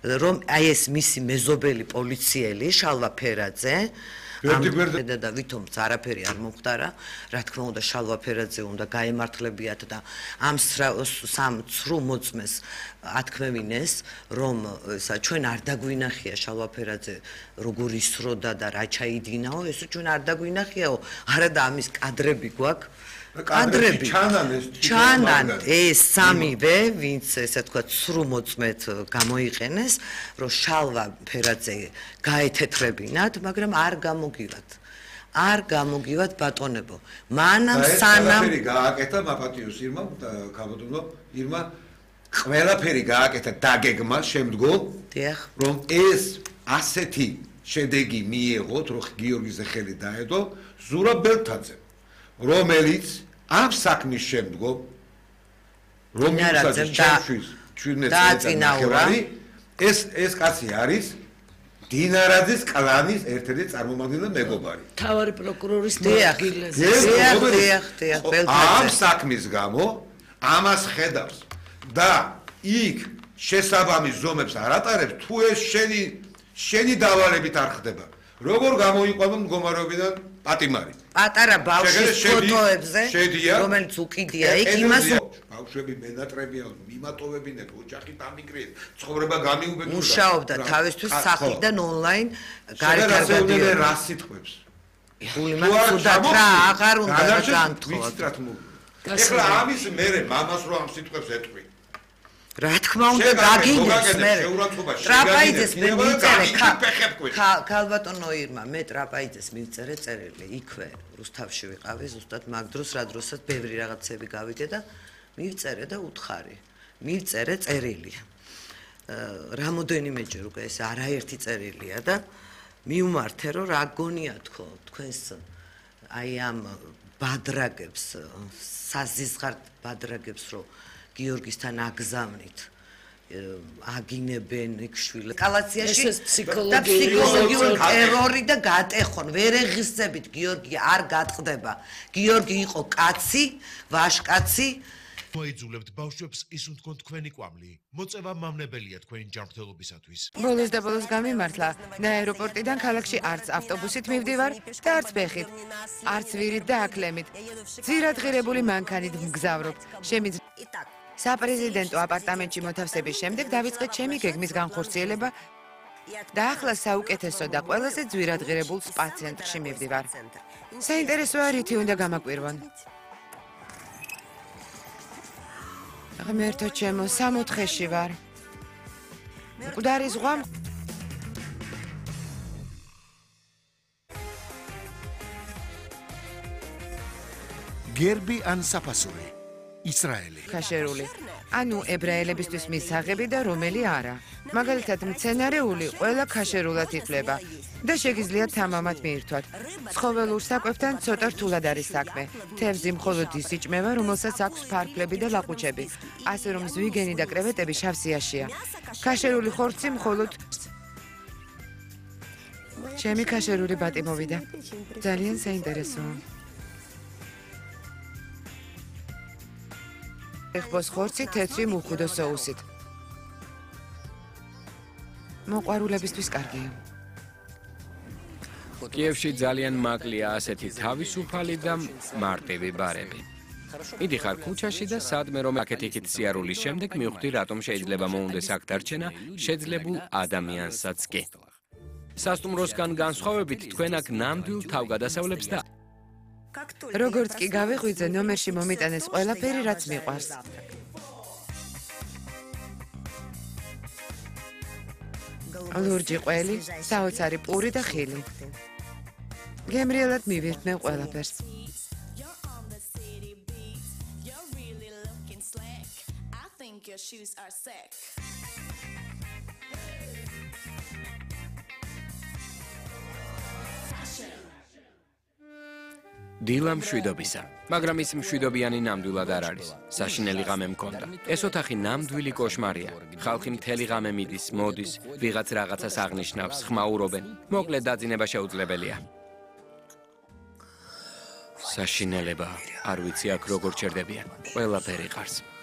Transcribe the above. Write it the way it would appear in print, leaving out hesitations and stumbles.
რომ აი ეს მისი მეზობელი პოლიციელი შალვა ფერაძე და ვითომ არაფერი არ მომხდარა, რა თქმა უნდა შალვა ფერაძე უნდა გაემართლებიათ და ამ სამ ცრუ მოწმეს ათქმევინეს, რომ ჩვენ არ დაგვინახია შალვა ფერაძე როგორ ისროდა და რა ჩაიდინაო, ეს ჩვენ არ დაგვინახიაო, არა და ამის კადრები გვაქვს. კადრები ჩანან ეს სამივე, ვინც ესე თქვა ცრუ მოწმეთ გამოიყენეს, რომ შალვა ფერაძე გაეთეთრებინათ, მაგრამ არ გამოგივათ ბატონებო. მანამ სანამ გააკეთა მაპატიოს ირმა, ქაბატონო ირმა ყველაფერი გააკეთა დაგეგმა შემდგომ, რომ ეს ასეთი შედეგი მიიღოთ, რომ გიორგის ხელი დაედო ზურაბ ბელთაძემ, რომელიც ამ საქმის შემდგომ რომ მისაძეს ჩემთვის 17 წელი ეს კაცი არის დინარაძის კლანის ერთ-ერთი წარმომადგენელი მეგობარი. თავარი პროკურორის დილაზე. ამ საქმის გამო ამას ხედავს და იქ შესაბამის ზომებს არ ატარებს თუ ეს შენი დავალებით არ ხდება. როგორ გამოიყვება მდგომარეობიდან პატიმარი. პატარა ბავშვის ფოტოებზე, რომელიც უკიდია იქ იმას ბავშვები მენატრებია, მიმატოვებინებ, ოჯახი დამიკრიეთ, ცხოვრება გამიუბედურდა. მუშაობდა თავისთვის სახლიდან ონლაინ გარეგარდადია. რა სიტყვებს? სუდად რა აღარ უნდა განთხოვოთ. ეხლა ამის მერე მამას რო ამ სიტყვებს ეტყვი. რა თქმა უნდა გაგიგებს მე ტრაპაიძეს მე მიწერე ქალბატონო ირმა მე ტრაპაიძეს მიწერე წერილი იქვე რუსთავში ვიყავი ზუსტად მაგ დროს რა დროსაც ბევრი რაღაცები გავიდე და მივწერე და უთხარი მივწერე წერილი რამოდენიმეჯერ უკვე ეს არაერთი წერილია და მიუმართე რომ რა გონია თქო თქვენს აი ამ ბადრაგებს საზიზღართ ბადრაგებს რომ გიორგისთან აგზავნით აგინებენ იქ შვილ კალაციაში და ფსიქოლოგიური ტერორი და გატეხონ ვერ ეღისწებით გიორგი არ გატყდება გიორგი იყო კაცი ვაშკაცი მოიძულებთ ბავშვებს ისუნთქონ თქვენი კვამლი მოწევა მამნებელია თქვენი ჯანმრთელობისათვის ბოლოს და ბოლოს გამიმართლა და აეროპორტიდან ქალაქში არც ავტობუსით მივდივარ და არც ფეხით არც ვირით და აკლემით ძირად ღირებული მანქანით მგზავრობ საპრეზიდენტო აპარტამენტში მოთავსების შემდეგ დავიწყე ჩემი გეგმის განხორციელება და ახლა საუკეთესო და ყველაზე ძვირად ღირებულ სპა ცენტრში მივდივარ საინტერესოა რითი უნდა გამაკვირვონ ღმერთო ჩემო 64-ში ვარ მკვდარი ზღვა გერბი ან საფასური ისრაელი ქაშერული ანუ ებრაელებისთვის მისაღები და რომელი არა მაგალითად მცენარეული ყველა ქაშერულად ითვლება და შეგიძლიათ თამამად მიირთვათ ცხოველურ საკვებთან ცოტა რთულად არის საქმე თევზი მხოლოდ ის იჭმევა რომელსაც აქვს ფარფლები და ლაყუჩები ასე რომ ზვიგენი და კრევეტები შავ სიაშია ქაშერული ხორცი მხოლოდ ჩემი ქაშერული ბატი მოვიდა ძალიან საინტერესოა ეხბოს ხორცი თეთრი მუხუდო სოუსით. მოყვარულებისთვის კარგია. კიევში ძალიან მაკლია ასეთი თავისუფალი და მარტივი ბარები. მიდიხარ ქუჩაში და სადმე რომ აკეთიქით სიარულის შემდეგ მივხვდი რატომ შეიძლება მოუნდეს აქ დარჩენა შეძლებულ ადამიანსაც კი. სასტუმროსგან განსხვავებით თქვენ აქ ნამდვილ თავგადასავლებს და როგორც კი გავიღვიძე ნომერში მომიტანეს ყველაფერი რაც მიყვარს ლურჯი ყველი საოცარი პური და ხილი გემრიელად მივირთმე ყველაფერს დილა მშვიდობისა, მაგრამ ის მშვიდობიანი ნამდვილად არ არის. საშინელი ღამე მქონდა. ეს ოთახი ნამდვილი კოშმარია. ხალხი მთელი ღამე მიდის, მოდის, ვიღაც რაღაცას აღნიშნავს, ხმაურობენ. მოკლედ დაძინება შეუძლებელია. საშინელება, არ ვიცი აქ როგორ ჩერდებიან. ყველაფერი ყარს.